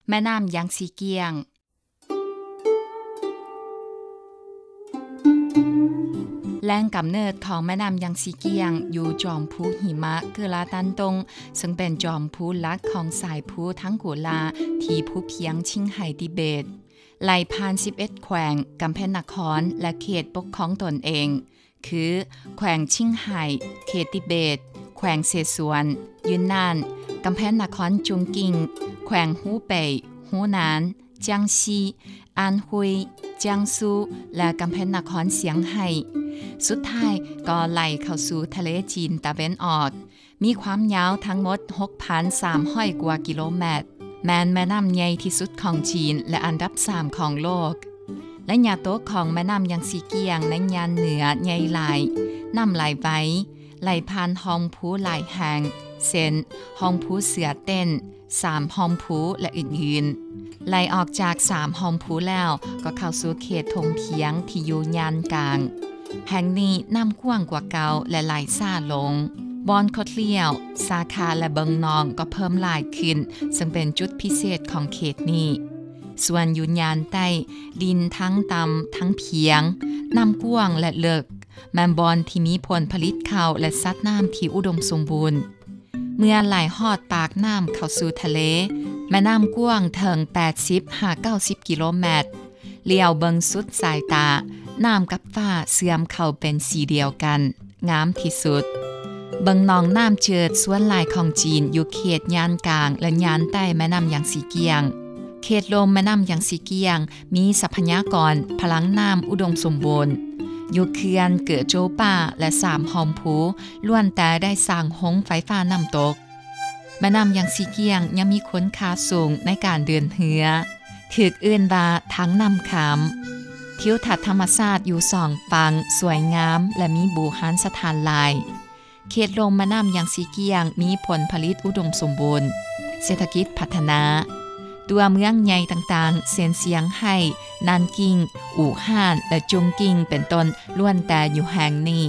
ແມ່ນ້ຳຢາງຊີກ້ຽງ. ແຫຼ່ງກຳເນີດຂອງແມ່ນ້ຳຢາງຊີກ້ຽງຢູ່ຈອມພູຫິມະເກີລາຕັນຕົງ, ເຊິ່ງເປັນຈອມພູຫຼັກຂອງສາຍພູທັງໂກລາທີ່ພູພຽງຊິງໄຫຕິເບດ, ໄຫຼຜ່ານສິບເອັດແຂວງ, ກຳແພງນະຄອນ ແລະ ເຂດປົກຄອງຕົນເອງ ຄື ແຂວງຊິງໄຫ, ເຂດຕິເບດ, ແຂວງເສສວນ, ຢຸນນານ, ກຳແພງນະຄອນຈຸງກິງ, ແຂວງຮູເປຍ, ຮູ້ນານ, ຈຽງຊີ, ອານຮຸຍ, ຈຽງຊູ ແລະ ກຳແພງນະຄອນຊຽງໄຮ້. ສຸດທ້າຍກໍໄຫຼເຂົ້າສູ່ທະເລຈີນຕາເວັນອອກ, ມີຄວາມຍາວທັງໝົດຫົກພັນສາມຮ້ອຍກວ່າກິໂລແມັດ, ແມ່ນແມ່ນ້ຳໃຫຍ່ທີ່ສຸດຂອງຈີນ ແລະ ອັນດັບສາມຂອງໂລກ. ໄລຍະຕົກຂອງແມ່ນ້ຳຢາງຊີກ້ຽງໃນຍານເໜືອໃຫຍ່ຫຼາຍ, ນ້ຳໄຫຼໄວ, ໄຫຼຜ່ານຮ່ອງພູຫຼາຍແຫ່ງ ເຊັ່ນ ຮ່ອງພູເສືອເຕັ້ນ, ສາມຮ່ອງພູ ແລະ ອື່ນໆ. ໄຫຼອອກຈາກສາມຮ່ອງພູແລ້ວ ກໍເຂົ້າສູ່ເຂດທົ່ງພຽງທີ່ຢູ່ຍານກາງ. ແຫ່ງນີ້ນ້ຳກວ້າງກວ່າເກົ່າ ແລະ ໄຫຼຊ້າລົງ. ບ່ອນຄົດລ້ຽວ, ສາຂາ ແລະ ເບິ່ງໜອງກໍເພີ່ມຫຼາຍຂຶ້ນ, ເຊິ່ງເປັນຈຸດພິເສດຂອງເຂດນີ້. ສ່ວນຢູ່ຍານໃຕ້, ດິນທັງຕ່ຳທັງພຽງ, ນ້ຳກວ້າງ ແລະ ເລິກ, ແມ່ນບ່ອນທີ່ມີຜົນຜະລິດເຂົ້າ ແລະ ສັດນ້ຳທີ່ອຸດົມສົມບູນ. ເມື່ອໄຫຼຮອດປາກນ້ຳເຂົ້າສູ່ທະເລ, ແມ່ນ້ຳກວ້າງເຖິງແປດສິບຫາເກົ້າສິບກິໂລແມັດ. ຫຼຽວເບິ່ງສຸດສາຍຕາ, ນ້ຳກັບຟ້າເຊື່ອມເຂົ້າເປັນສີດຽວກັນ, ງາມທີ່ສຸດ. ເບິ່ງໜອງນ້ຳເຈີດສ່ວນຫຼາຍຂອງຈີນຢູ່ເຂດຍານກາງ ແລະ ຍານໃຕ້ແມ່ນ້ຳຢາງຊີກ້ຽງ. ເຂດລຸ່ມແມ່ນ້ຳຢາງຊີກ້ຽງ ມີຊັບພະຍາກອນພະລັງນ້ຳອຸດົມສົມບູນ. ຢູ່ເຂື່ອນເກີໂຈປາ ແລະ ສາມຮ່ອມພູ ລ້ວນແຕ່ໄດ້ສ້າງໂຮງໄຟຟ້ານ້ຳຕົກ. ແມ່ນ້ຳຢາງຊີກ້ຽງຍັງມີຄຸນຄ່າສູງໃນການເດີນເຮືອ, ຖືກເອີ້ນວ່າທາງນ້ຳຂາມ. ທິວທັດທຳມະຊາດຢູ່ສອງຝັ່ງສວຍງາມ ແລະ ມີບູຮານສະຖານຫຼາຍ. ເຂດລຸ່ມແມ່ນ້ຳຢາງຊີກ້ຽງມີຜົນຜະລິດອຸດົມສົມບູນ, ເສດຖະກິດພັດທະນາ. ຕົວເມືອງໃຫຍ່ຕ່າງໆ ເຊັ່ນ ຊຽງໄຮ້, ນັນກິງ, ອູ່ຮານ ແລະ ຈຸງກິງ ເປັນຕົ້ນ ລ້ວນແຕ່ຢູ່ແຫ່ງນີ້.